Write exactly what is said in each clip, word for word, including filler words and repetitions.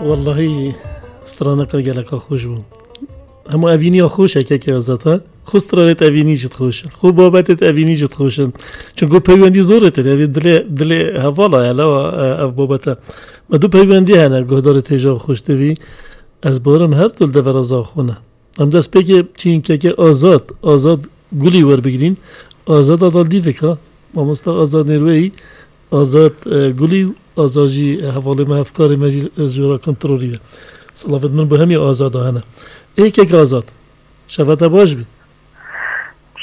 Wellahî, straneka geleka xweş bû. Hema evîniya xweş e keke Azad, ha? Xwe stranêt evînî jî xweş in. Xwe babetêt evînî jî xweş in. Çunku peywendî zor e, yani dilê, dilê hevala ye, lawa, e, ev babete. Me du peywendî hene, guhdarê têja xweş divî. Ez barim her du li devera Zaxo ne. Em destpêkê çîn keke Azad, Azad Gulî werbigirîn. Azad Adal dîvek ha. Mamosta Azad Nêrweyî, Azad, e, Gulî û Azad jî hevalê me, hevkarê me jî, e, ji wira kontrolî ye. Silavêt min bo hemî Azada hene. Ê keke Azad, şeva te baş bî.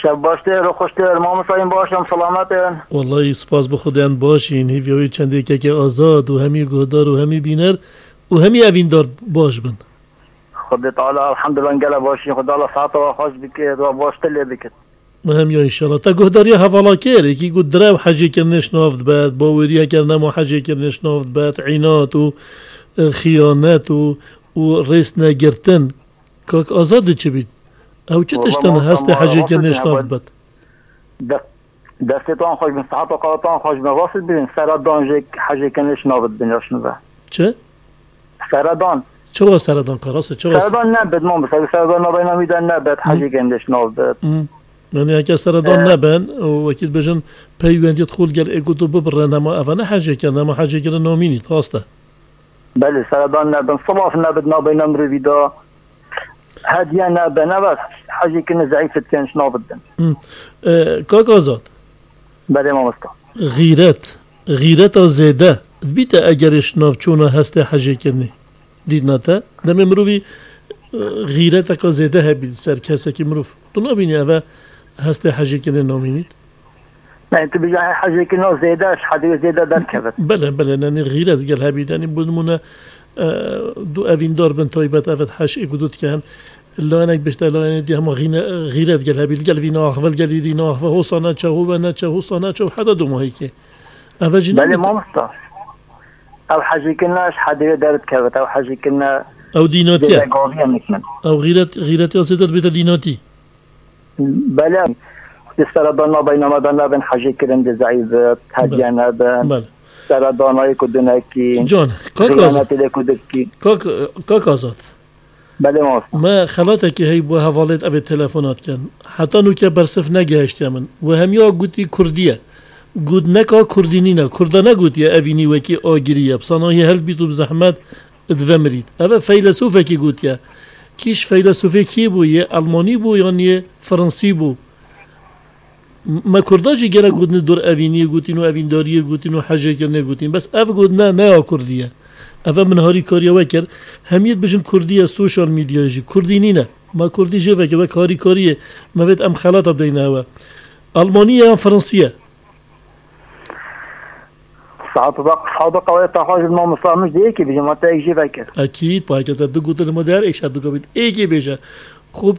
Şev baş tê, ro xweş tê, mamosta, yên baş em, selamet in. Wellahî spas bi Xwedê em baş în. Hîviya wê çendê keke Azad û hemî guhdar û hemî bîner û hemî evîndar baş bin. Xwedê Teala elhamdulillah gele baş în. Xwedê Teala seheta we xweş bike, we baş te lê bike. Muhim ya înşallah. Te guhdariya hevala kir, yekî got direw hecê kirinê şinav dibet, baweriyeke nema hecê kirinê şinav dibet, înat û, e, xiyanet û, û rêz negirtin. Kak Azad dê çi bît? Ew çi Walla tiştin mamosta hestê ma hecê kirinê şinav dibet? De-, destê tan xweş bin, seheta qala tan xweş bin, rast dibin, sera dan jê hecê kirinê şinav dibin ya şinve. Çi? Seredan. Çawa seredan ka, rast e, çawa se- Seredan nebit, mamosta, seredan nabeyna wî de nebit, Hı. hecê gendiş nabit. Hı. Yani heke seredan Ee, neben, û wekî dibêjin peywendiyê xwe li gel êk û du bibirin, hema eva ne hecê kirin, hema hecê kirin namînît, rast e. Belê, seredan nebin, silav nebit nabeyna mirovî de, hediye nebin, eva hecê kirin zeîf dikin, şinabit bin. Hı. Ee, kak Azad. Belê mamosta. Xîret, xîreta zêde dibîte egerê şinavçûna hestê hejêkirinê. Dîtina te? Demê mirovî, e, xîreteka zêde hebî ser kesekî mirov. Tu nabînî eve hestê hejêkirinê namînît? Yani tu bijî hejêkirina zêde, ji hedê wê zêde derkevit. Belê, belê, yani xîret gel hebî. Yani bo nimûne, e, du evîndar bin taybet evet hej êk û du dikin. Layenek bişte, layenê dî hema xîne-, xîret gel hebî, li gel vî naxve, li gel dî naxve, hosa neçe, hove neçe, hosa neçe û heta domahîkê. Eve jî Belê nabîte. Mamosta. Ew hejîkirine ji hedê wê derdikevit, ew hejîkirine Ew dînatî ye. Zêde gaviye niknin. Ew xîret, xîretiya zêde dibête dînatî. Belê. Di seredan nabeyna me de nebin hejîkirin di zeîf bit, hediye Belê. nebin. Belê. Seredanayê ku dinekî, Can, kak Azad. Xiyanetê lê ku dikî. Kak, kak Azad. Belê mamosta. Me xelatekî heyî bo hevalêt evê telefona dikin. Heta nûke bersiv negihiştiye min. We hemiya gotî Kurdî ye. Got neka Kurdî nîne. Kurda negotiye evînî wekî agirî ye. Bi sanahî helbît û bi zehmet divemirît. Eve feylesofekî gotiye. Kî ji feylesofê kî bû? Yê Elmanî bû yan yê Fransî bû? Me Kurda jî gelek gotinê dor evîniyê gotîn û evîndariyê gotîn û hejêkirinê gotîn. Bes ev gotine ne ya Kurdî ye. Eve min harîkariya we kir. Hemiyê dibêjin Kurdî ye, sosyal medyayê jî. Kurdî nîne. Me Kurdî jê vekir, wek harîkariyê. Me vêt em xelata bideyne hewe. Elmanî ye yan Fransî ye? Saet bak, saet bak, qawaya taxaj ma Musa Mecdî êkî bêje, ma te êk jê vekir. Ekîd, payke te du gotin ma der êşa du gabît. Êkî bêje.